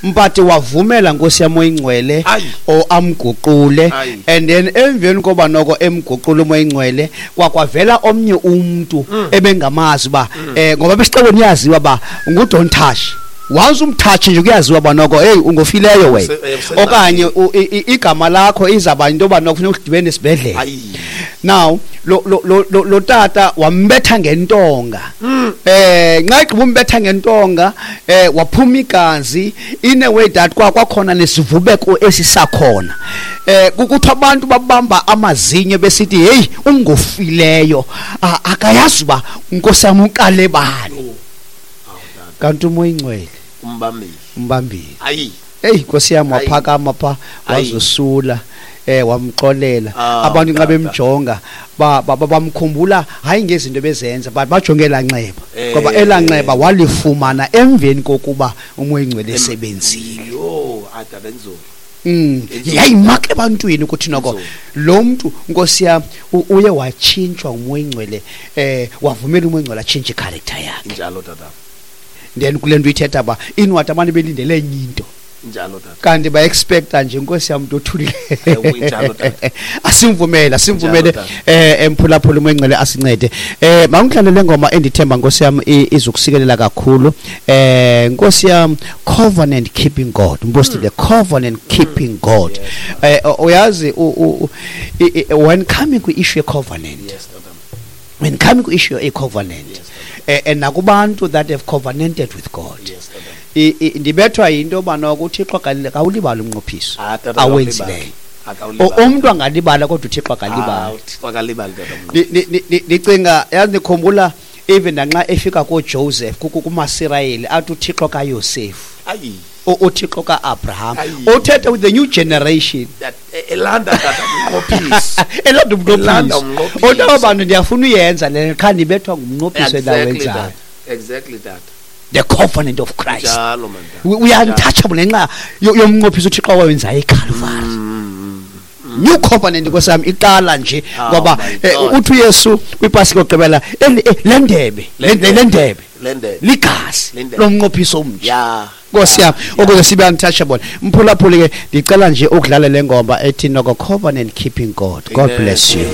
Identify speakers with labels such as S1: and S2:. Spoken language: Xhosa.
S1: But wavumela, Nkosi yam oyingcwele, o amguqule. And then emveni koba noko emguqule uMoya Ingcwele, kwakwavela omnye umntu ebengamazi uba ngoba besixekweni iyaziwa uba ngu-don't touch. Once umthatshe nje, kuyaziwa uba noko, hey, ungofileyo wena, okanye igama lakho izawuba yinto yoba noko funeka udibene nesibhedlele. Now lo tata wambetha ngentonga. Nxa igqiba umbetha ngentonga, waphuma igazi in a way that kwakhona nesivubeko esisakhona. Kuthiwa abantu babamba amazinyo besithi, "Hey, ungofileyo, akayazi uba Nkosi yam uqale bani."
S2: Oh. Awu, tata.
S1: Kanti uMoya Ingcwele
S2: umbambile.
S1: Umbambile.
S2: Ayi.
S1: Eyi, Nkosi yam, waphakama pha, wazosula, wamxolela. Abantu nxa
S2: Tata.
S1: bemjonga, bamkhumbula hayi ngezinto bezenza, but bajonge elaa nxeba, ngoba elaa nxeba walifumana emveni kokuba uMoya Ingcwele esebenzile.
S2: Yho, tata, enzulu.
S1: Yayimaka ebantwini ukuthi noko
S2: Enzulu.
S1: lo mntu, Nkosi yam, uye watshintshwa nguMoya Ingcwele, wavumela uMoya Ingcwele atshintshe i-character yakhe.
S2: Njalo, tata.
S1: Then kule nto ithetha uba inwadi abantu belindele enye into,
S2: Njalo, tata.
S1: kanti ba-expecta nje, Nkosi yam, umntu othulile.
S2: Ewe, injalo, tata.
S1: Asimvumele, asimvumele.
S2: Njalo, tata.
S1: Emphulaphula, uMoya Ingcwele asincede. Mawungidlalele le ngoma endithemba, Nkosi yam, izokusikelela kakhulu. Nkosi yam, Covenant Keeping God, mpostile, Covenant Keeping God. Uyazi, when coming kwi-issue ye-covenant,
S2: Yes, tata.
S1: when coming kwi-issue ye-covenant,
S2: Yes, tata.
S1: and nakubantu that have covenanted with God,
S2: Yes, tata.
S1: Ndibethwa yinto yoba noko uThixo akawulibali umnqophiso
S2: Ah, tata,
S1: awenzileyo.
S2: akawulibali.
S1: Umntu angalibala, kodwa uThixo akalibali.
S2: Ah, uThixo akalibali, tata.
S1: Ndicinga, yazi, ndikhumbula even nanxa efika kooJoseph, kumaSirayeli, athi uThixo kaYosefu, uThixo kaAbraham, uthetha with the new generation.
S2: Elanda, tata, umnqophiso.
S1: Elanda
S2: Elanda
S1: umnqophiso.
S2: umnqophiso.
S1: Uthi aba bantu, ndiyafuna uyenza le, qha ndibethwa ngumnqophiso endawenzayo.
S2: Tata. Exactly, tata.
S1: The covenant of Christ.
S2: Njalo, man, tata.
S1: We are untouchable ngenxa yomnqophiso uThixo awawenzayo eCalvary. New covenant, Nkosi yam, iqala nje
S2: Oh
S1: ngoba
S2: my God.
S1: uthi uYesu kwiPasika yokugqibela, le ndebe, le ndebe
S2: Le ndebe.
S1: ligazi
S2: Le ndebe.
S1: lomnqophiso omtsha. Nkosi yam,
S2: Yeah.
S1: ukuze sibe untouchable. Mphulaphuli ke, ndicela nje ukudlala le ngoma ethi noko Covenant Keeping God. God
S2: Amen.
S1: bless you.